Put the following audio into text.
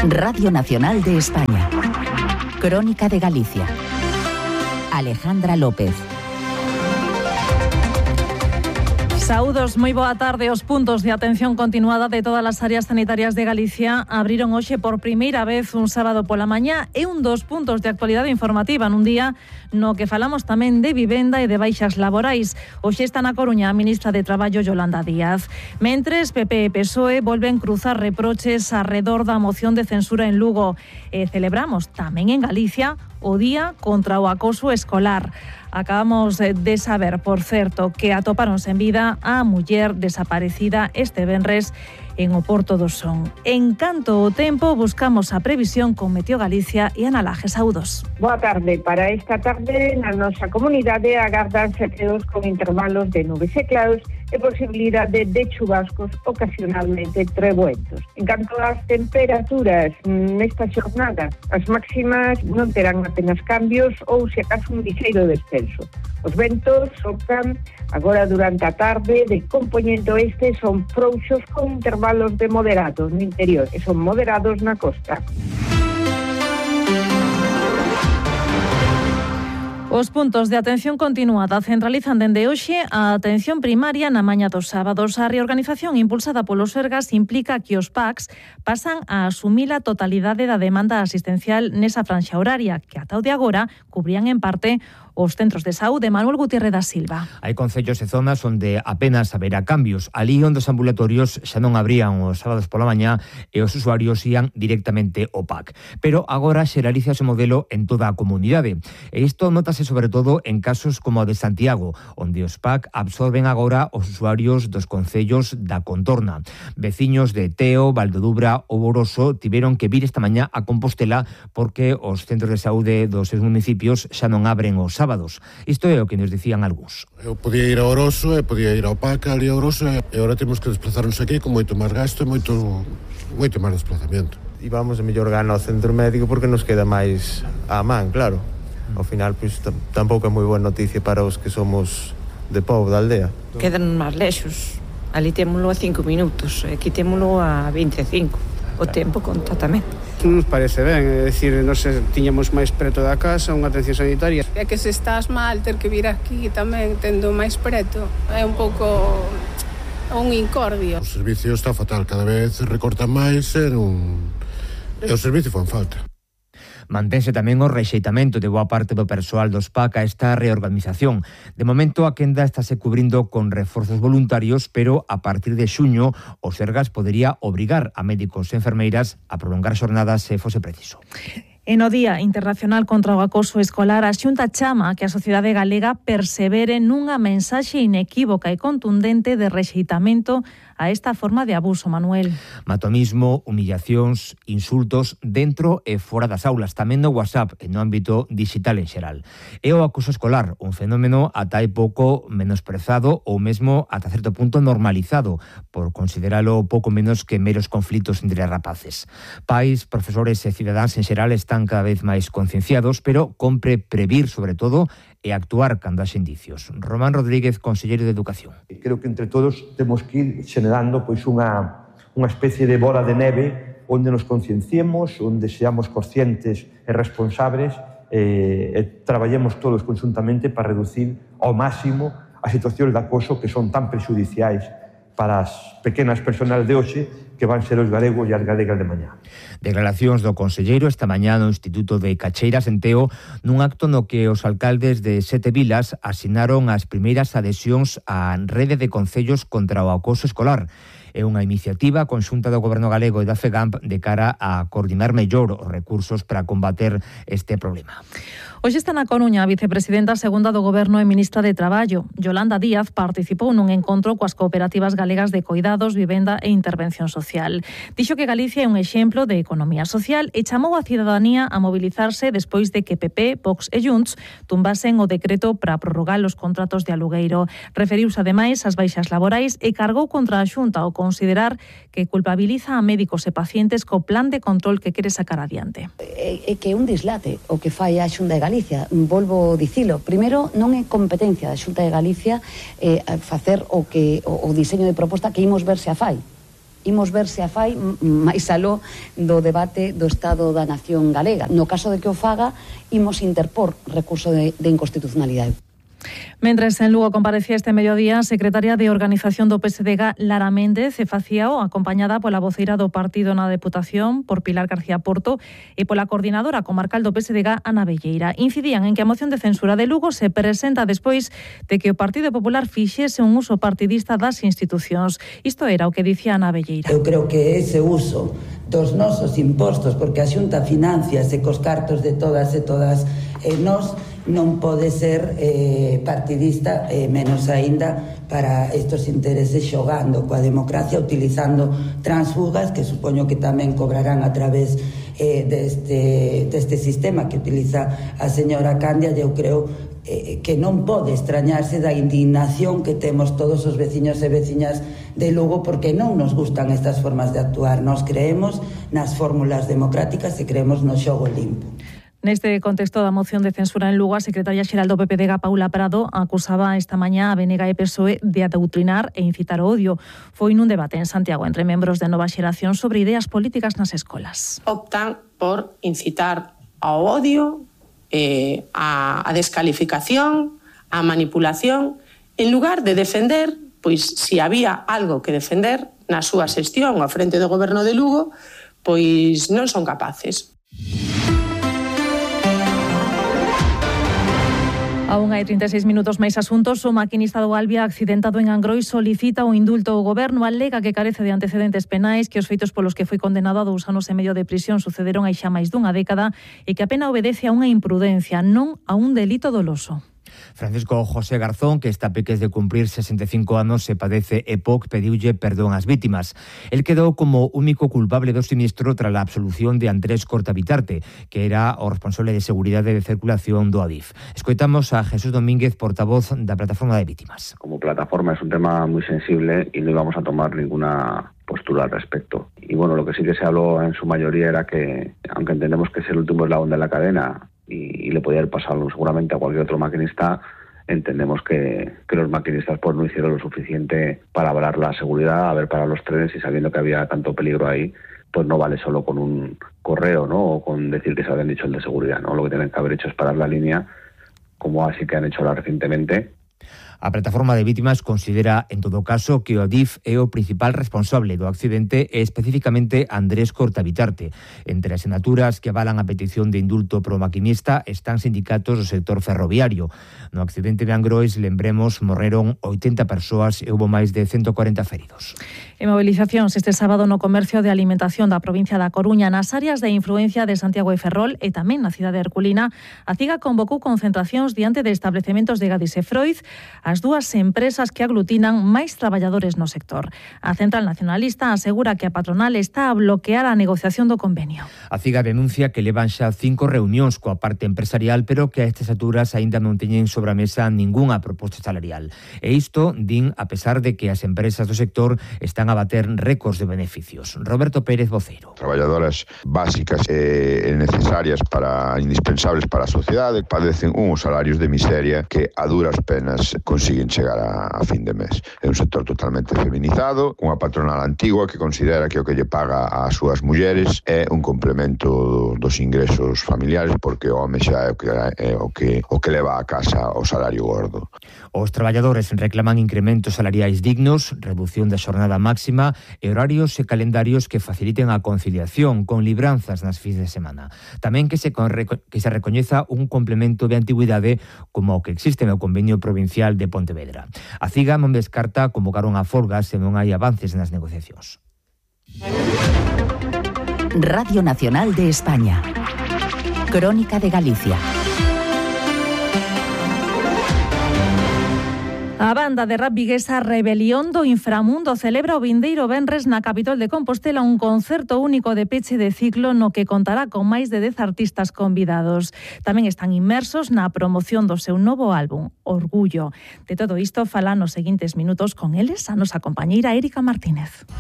Radio Nacional de España. Crónica de Galicia. Alejandra López. Saúdos, moi boa tarde. Os puntos de atención continuada de todas as áreas sanitarias de Galicia abriron hoxe por primeira vez un sábado pola mañá e un dos puntos de actualidade informativa nun día no que falamos tamén de vivenda e de baixas laborais. Hoxe está na Coruña a ministra de Traballo Yolanda Díaz. Mentres, PP e PSOE volven cruzar reproches arredor da moción de censura en Lugo. E celebramos tamén en Galicia o Día contra o Acoso Escolar. Acabamos de saber, por certo, que atoparon sen vida a muller desaparecida este venres en o Porto do Son. En canto ao tempo, buscamos a previsión con Meteo Galicia e Ana Laje. Saúdos. Boa tarde. Para esta tarde, na nosa comunidade agardanse peos con intervalos de nubes e claros e posibilidade de chubascos ocasionalmente treboentos. En canto ás temperaturas nesta xornada, as máximas non terán apenas cambios ou se acaso un lixeiro descenso. Os ventos sopran agora durante a tarde de compoñente oeste, son frouxos con intervalos de moderados no interior e son moderados na costa. Os puntos de atención continuada centralizan dende hoxe a atención primaria na mañá dos sábados. A reorganización impulsada polo Sergas implica que os PACs pasan a asumir a totalidade da demanda asistencial nesa franxa horaria, que ata o de agora cubrían en parte os centros de saúde. Manuel Gutiérrez da Silva. Hai concellos e zonas onde apenas haberá cambios. Alí onde os ambulatorios xa non abrían os sábados pola mañá e os usuarios ían directamente ao PAC. Pero agora xeraliza ese modelo en toda a comunidade. E isto notase sobre todo en casos como o de Santiago, onde os PAC absorben agora os usuarios dos concellos da contorna. Veciños de Teo, Valdodubra ou Oroso tiveron que vir esta mañá a Compostela porque os centros de saúde dos seus municipios xa non abren os sábados. Isto é o que nos dicían algúns. Eu podía ir a Oroso e podía ir ao PAC ali a Oroso e agora temos que desplazarnos aquí con moito máis gasto e moito máis desplazamento. E vamos a mellor gana ao centro médico porque nos queda máis á man, claro. Ao final, pois, tampouco é moi boa noticia para os que somos de povo da aldea. Quedan máis lexos. Ali témolo a 5 minutos, aquí témolo a 25. O tempo conta tamén. Nos parece ben, é dicir, nos tiñamos máis preto da casa unha atención sanitaria. É que se estás mal, ter que vir aquí tamén tendo máis preto é un pouco un incordio. O servicio está fatal, cada vez recortan máis e o servicio fan falta. Mantense tamén o rexeitamento de boa parte do persoal dos PAC a esta reorganización. De momento, a quenda estáse cubrindo con reforzos voluntarios, pero a partir de xuño, o Sergas podería obrigar a médicos e enfermeiras a prolongar xornadas se fose preciso. E no Día Internacional contra o Acoso Escolar, a Xunta chama que a sociedade galega persevere nunha mensaxe inequívoca e contundente de rexeitamento a esta forma de abuso, Manuel. Matomismo, humillacións, insultos dentro e fora das aulas, tamén no WhatsApp e no ámbito digital en xeral. E o acoso escolar, un fenómeno ata hai pouco menosprezado ou mesmo ata certo punto normalizado, por consideralo pouco menos que meros conflitos entre rapaces. Pais, profesores e cidadáns en xeral están cada vez máis concienciados, pero compre previr, sobre todo, e actuar cando haxe indicios. Román Rodríguez, conselleiro de Educación. Creo que entre todos temos que ir generando pois unha especie de bola de neve onde nos concienciemos, onde seamos conscientes e responsables e traballemos todos conjuntamente para reducir ao máximo as situacións de acoso que son tan prexudiciais para as pequenas personas de hoxe que van ser os galegos e as galegas de mañá. Declaracións do conselleiro esta mañá no Instituto de Cacheiras en Teo, nun acto no que os alcaldes de 7 vilas asinaron as primeiras adhesións á rede de concellos contra o acoso escolar. É unha iniciativa conxunta do Goberno galego e da FEGAMP de cara a coordinar mellor os recursos para combater este problema. Hoxe está na Coruña a vicepresidenta segunda do Goberno e ministra de Traballo. Yolanda Díaz participou nun encontro coas cooperativas galegas de coidados, vivenda e intervención social. Dixo que Galicia é un exemplo de economía social e chamou a cidadanía a mobilizarse despois de que PP, Vox e Junts tumbasen o decreto para prorrogar os contratos de alugueiro. Referiuse ademais ás baixas laborais e cargou contra a Xunta ao considerar que culpabiliza a médicos e pacientes co plan de control que quere sacar adiante. É que é un dislate o que fai a Xunta de Galicia, volvo dicilo. Primeiro, non é competencia da Xunta de Galicia facer o diseño de proposta que imos ver se a fai. imos ver se a fai máis aló do debate do Estado da Nación Galega. No caso de que o faga, imos interpor recurso de inconstitucionalidade. Mentres en Lugo comparecía este mediodía a secretaria de Organización do PSDG, Lara Méndez, e facíao acompañada pola voceira do partido na Deputación, por Pilar García Porto, e pola coordinadora comarcal do PSDG, Ana Velleira. Incidían en que a moción de censura de Lugo se presenta despois de que o Partido Popular fixese un uso partidista das institucións. Isto era o que dicía Ana Velleira. Eu creo que ese uso dos nosos impostos, porque a Xunta financiase cos cartos de todas e todas nós, non pode ser partidista, menos aínda para estes intereses, xogando coa democracia, utilizando transfugas que supoño que tamén cobrarán a través deste sistema que utiliza a señora Candia. Eu creo que non pode extrañarse da indignación que temos todos os veciños e veciñas de Lugo, porque non nos gustan estas formas de actuar. Nos creemos nas fórmulas democráticas e creemos no xogo limpo. Neste contexto da moción de censura en Lugo, a secretaria xeral do PPDG, Paula Prado, acusaba esta mañá a BNG e PSOE de adoutrinar e incitar o odio. Foi nun debate en Santiago entre membros de Nova Xeración sobre ideas políticas nas escolas. Optan por incitar ao odio, a descalificación, a manipulación, en lugar de defender, pois se había algo que defender na súa xestión ao frente do goberno de Lugo, pois non son capaces. A 1:36 minutos máis asuntos. O maquinista do Albia accidentado en Angrois solicita o indulto ao goberno, alega que carece de antecedentes penais, que os feitos polos que foi condenado a 2 anos e medio de prisión sucederon hai xa máis dunha década e que a pena obedece a unha imprudencia, non a un delito doloso. Francisco José Garzón, que está a peques de cumprir 65 anos e padece EPOC, pediulle perdón ás vítimas. El quedou como único culpable do sinistro tras a absolución de Andrés Cortabitarte, que era o responsable de seguridade de circulación do Adif. Escoitamos a Jesús Domínguez, portavoz da Plataforma de Vítimas. Como plataforma es un tema muy sensible y no íbamos a tomar ninguna postura al respecto. Y bueno, lo que sí que se habló en su mayoría era que, aunque entendemos que es el último eslabón de la cadena y le podía haber pasado seguramente a cualquier otro maquinista, entendemos que los maquinistas pues no hicieron lo suficiente para avalar la seguridad, haber parado los trenes, y sabiendo que había tanto peligro ahí, pues no vale solo con un correo, ¿no?, o con decir que se habían dicho el de seguridad, ¿no? Lo que tienen que haber hecho es parar la línea, como así que han hecho ahora recientemente. A Plataforma de Vítimas considera, en todo caso, que o Adif é o principal responsable do accidente e especificamente Andrés Cortabitarte. Entre as sinaturas que avalan a petición de indulto pro maquinista están sindicatos do sector ferroviario. No accidente de Angrois, lembremos, morreron 80 persoas e houbo máis de 140 feridos. En movilizacións este sábado no comercio de alimentación da provincia da Coruña, nas áreas de influencia de Santiago e Ferrol e tamén na cidade herculina, a CIGA convocou concentracións diante de establecementos de Gadis e Freud, as dúas empresas que aglutinan máis traballadores no sector. A Central Nacionalista asegura que a patronal está a bloquear a negociación do convenio. A CIGA denuncia que levan xa 5 reunións coa parte empresarial, pero que a estas alturas aínda non teñen sobre a mesa ningunha proposta salarial. E isto din a pesar de que as empresas do sector están a bater récords de beneficios. Roberto Pérez, voceiro. Traballadoras básicas e necesarias indispensables para a sociedade padecen uns salarios de miseria que a duras penas consiguen chegar a fin de mes. É un sector totalmente feminizado, cunha patronal antigua que considera que o que lle paga ás súas mulleres é un complemento dos ingresos familiares, porque o home xa é o que leva a casa o salario gordo. Os traballadores reclaman incrementos salariais dignos, redución da xornada máxima e horarios e calendarios que faciliten a conciliación con libranzas nas fins de semana. Tamén que se recoñeza un complemento de antigüidade como o que existe no convenio provincial de Pontevedra. A CIGA non descarta convocar unha folga se non hai avances nas negociacións. Radio Nacional de España. Crónica de Galicia. A banda de rap viguesa Rebelión do Inframundo celebra o vindeiro venres na capital de Compostela un concerto único de peche de ciclo no que contará con máis de 10 artistas convidados. Tamén están inmersos na promoción do seu novo álbum, Orgullo. De todo isto falan nos seguintes minutos con eles a nosa compañeira Érica Martínez.